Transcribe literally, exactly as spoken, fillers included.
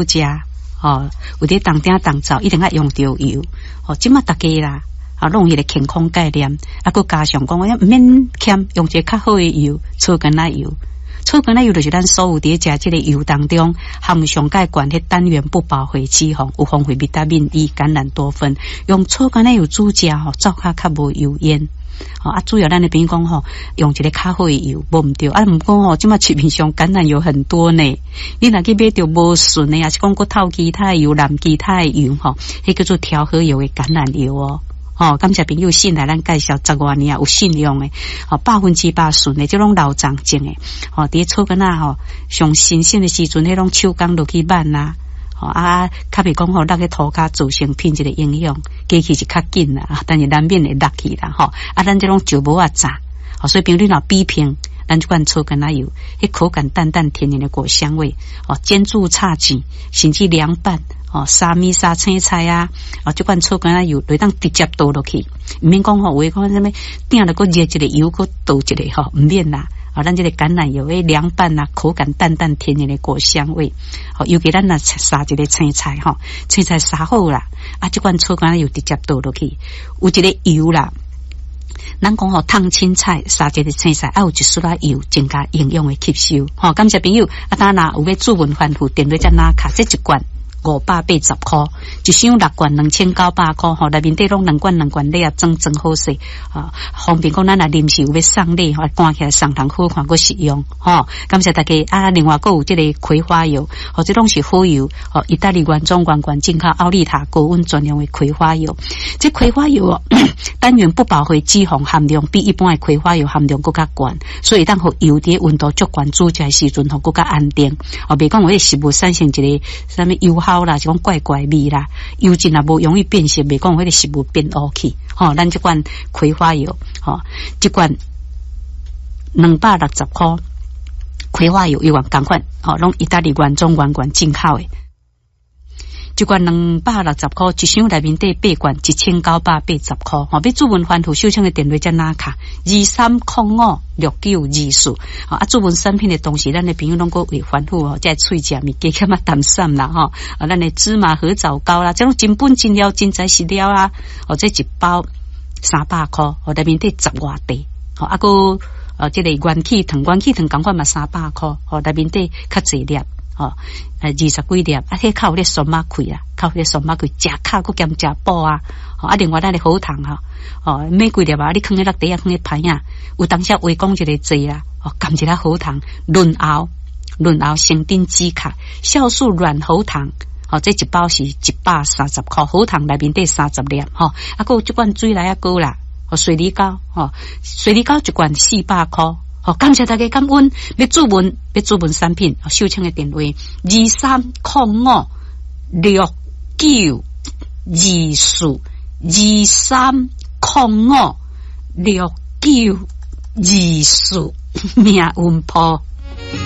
食，吼，有佇當鼎當灶一定愛用著油，吼，這馬逐家啦，啊，攏有彼个健康概念，啊，閣加上講，毋免儉，用一个較好的油，草柑仔油。草柑仔油就是咱所有佇食這个油當中含上蓋懸彼單元不飽和脂肪，有豐富維他命 E、橄欖多酚。用草柑仔油煮食吼，灶跤較無油煙。吼啊，主要咱的朋友講吼，用一个較好的油，無毋對。啊，毋過吼，這馬市面上橄欖油很多呢。你若去買著無純的，抑是講閣透其他的油、摠其他的油吼，彼叫做調和油的橄欖油哦。吼，感謝朋友信賴咱介紹十外年啊，有信用的，吼，百分之百純的，這攏老欉種的，吼，佇草柑仔吼，上新鮮的時陣，彼攏手工落去挽啊，吼啊，較袂講吼，落去塗跤造成品質的影響，機器是較緊啦，但是難免會落去啦，吼，啊，咱這攏石磨仔榨，所以朋友你若比拼，咱這款草柑仔油，彼口感淡淡甜甜的果香味，哦，煎煮炒煎，甚至涼拌。哦，沙米沙青菜啊，哦，這款草柑仔油，就當直接倒落去，毋免講吼，有的講啥物，鼎了閣熱一个油，閣倒一个吼，毋免啦。哦，咱這个橄欖油的涼拌啊，口感淡淡甜甜的果香味。哦，尤其咱若撒一个青菜吼，青菜撒好啦，啊，這款草柑仔油直接倒落去，有一个油啦。咱講吼，燙青菜，撒一个青菜，啊，有一絲仔油，增加營養的吸收。吼，感謝朋友，啊，當若有欲注文反覆，電話才拿卡，這一罐五百八十箍，一箱六罐兩千九百箍，吼，內面底攏兩罐兩罐禮盒裝裝好勢，啊，方便講咱若臨時有欲送禮，吼，關起來送人好看，閣實用，吼。感謝大家啊！另外閣有這个葵花油，吼，這攏是好油，吼，意大利原裝原罐進口奧利塔高溫專用的葵花油。這葵花油哦，單元不飽和脂肪含量比一般的葵花油含量閣較懸，所以當予油佇溫度足懸煮食的時陣，吼，閣較安定。哦，袂講有彼食物產生一個啥物油耗啦，是講怪怪味啦，油脂也無容易變色，袂講彼个食物變烏去。吼，咱這罐葵花油，吼，這罐兩百六十箍葵花油，猶原仝款，吼，攏意大利原裝原罐進口的。這罐兩百六十箍，一箱內面底八罐，一千九百八十箍。吼，欲注文翻覆收錢的電話才拿卡，二三空五六九二四。啊，注文產品的同時，咱的朋友攏閣會反覆哦，這喙食物加減仔淡散啦，吼。啊，咱的芝麻褐藻膏啦，這攏真本真料真材實料啊。哦，這一包三百箍，哦，內面底十外塊。吼，啊，閣呃，這个元氣糖，元氣糖仝款嘛三百箍，吼，內面底較濟粒。吼，呃，二十幾粒，啊，彼較有咧酸仔氣啦，較有咧酸仔氣，食較閣兼食補啊。吼，啊，另外咱的喉糖吼，吼，買幾粒啊，你囥佇落袋仔，囥佇盤仔，有當時話講一个濟啦，吼，含一粒喉糖，潤喉，潤喉成頂止咳，酵素軟喉糖，吼，這一包是一百三十箍，喉糖內面底三十粒，吼，啊，閣有這罐水來仔膏啦，吼，水梨膏，吼，水梨膏一罐四百箍。好，感謝大家感恩，欲注文，欲注文產品，收錢的電話二三空五六九二四二三空五六九二四，命運鋪。